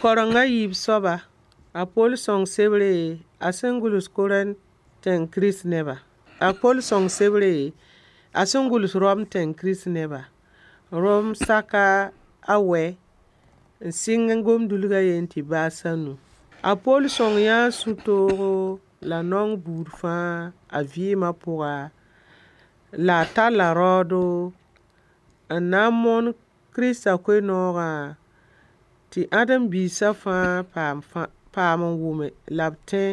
Kareng a yiib soaba, a Poll sõng sebre a sẽn gʋls Korẽnt tẽng Kirist neba. A Poll sõng sebre a sẽn gʋls Rom tẽng Kirist neba. Rom saka a wɛ n sɩng gom-dulg a yen tɩ baas a nu. A Poll sõng yãa sũ-toogo la naong buud fãa a vɩɩmã pʋga la a talla raoodo n na n moon Kirista koe-noogã tɩ ãdem-biisã fãa paam n wʋme la b tẽ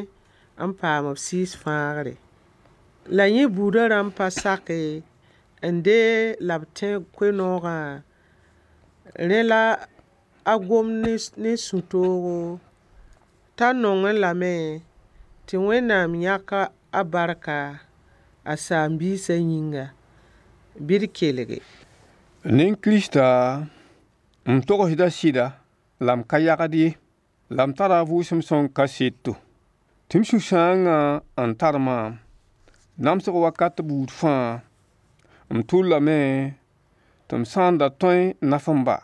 n paam b sɩɩs fãagre. La yẽ buudã rãmb pa sake n deeg la b tẽ koe-noogã. Rẽ la a gom ne sũ-toogo t'a nongẽ lame tɩ Wẽnnaam yãk a barka a saam-biisã yĩnga. Bɩ d kelge. Nin-kirista, m togsda sɩda la m ka yagd ye, la m tara a Vʋʋsem Sõng kaseto, tɩ m sũ-sãangã n tar maam, namsg wakat buud fãa, m tʋllame tɩ m sã n da tõe n naf m ba,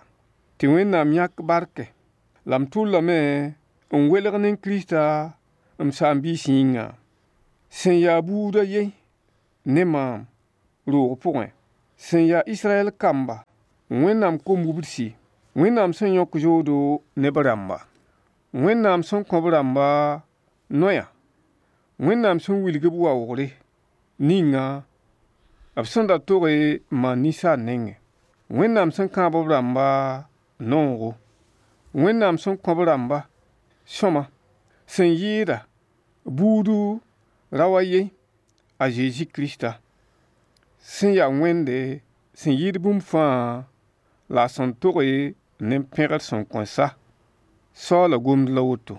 tɩ Wẽnnaam yãk barke, la m tʋllame n welg ne Kirista m saam-biis yĩnga, sẽn ya buud a yen ne maam roog pʋgẽ, sẽn ya Israyɛl kamba, Wẽnnaam kom-wubdsi, Wẽnnaam sẽn yõk zoodo ne b rãmba, Wẽnnaam sẽn kõ b rãmba noyã, Wẽnnaam sẽn wilg b waoogre ninga b sẽn da toge n maan ninsaal nengẽ, Wẽnnaam sẽn kãab b rãmba noogo, Wẽnnaam sẽn kõ b rãmba sõma sẽn yɩɩda buudu rao a yen, a Zezi Krista, sẽn ya Wẽnde sẽn yɩɩd bũmb fãa la a sẽn toge ne pẽgr sẽn kõn sa. Soaala gomd la woto.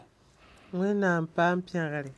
Wẽnnaam paam pẽgre.